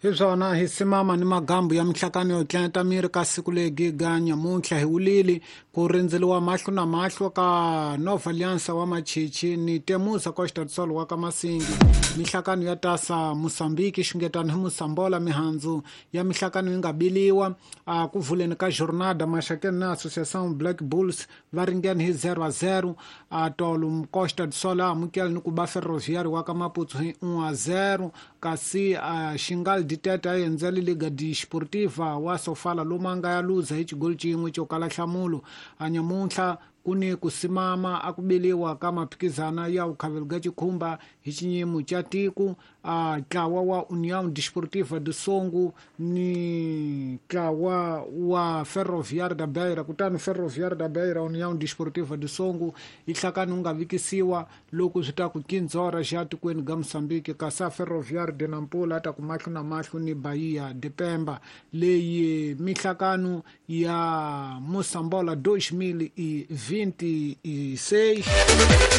Hi swona hi simama ni magambu ya minhlakano yo tlenta miri ka siku legi ga nyamuntlha hi wulili ku rindzeliwa mahlo na mahlo ka Nova Aliança wa Machichi ni Temusa Costa do Sol wa ka Masingi. Minhlakano ya tasa Mosambiki xungetano hi Mosambola mihandzu ya minhlakano yi nga biliwa a ku vuleni ka Jornada Maxakeni na Associação Black Bulls va ringene hi 0-0. A tolo Costa do Sol a amukela ni ku ba Ferroviário wa ka Maputo hi 1-0, kasi a Xingal Ditete a endzele Liga Desportiva wa Sofala lomu a nga ya luza hi xigoli xin'we xo kala nhlamulo. A nyamuntlha ku ni ku simama a ku biliwa ka maphikizana ya vukhavelo ga xikhumba hi xinyimo xa tiko. A ntlawa wa União Desportiva do Songo ni ntlawa wa Ferroviário da Beira, kutani Ferroviário da Beira União Desportiva do Songo yi hlakani wu nga vikisiwa loko swi ta ku kinzora xa tikweni ga Mozambique, kasi a Ferroviário de Nampula a ta ku mahlo na mahlo ni Bahia de Pemba. Leyi mihlakano ya Mosambola 2026.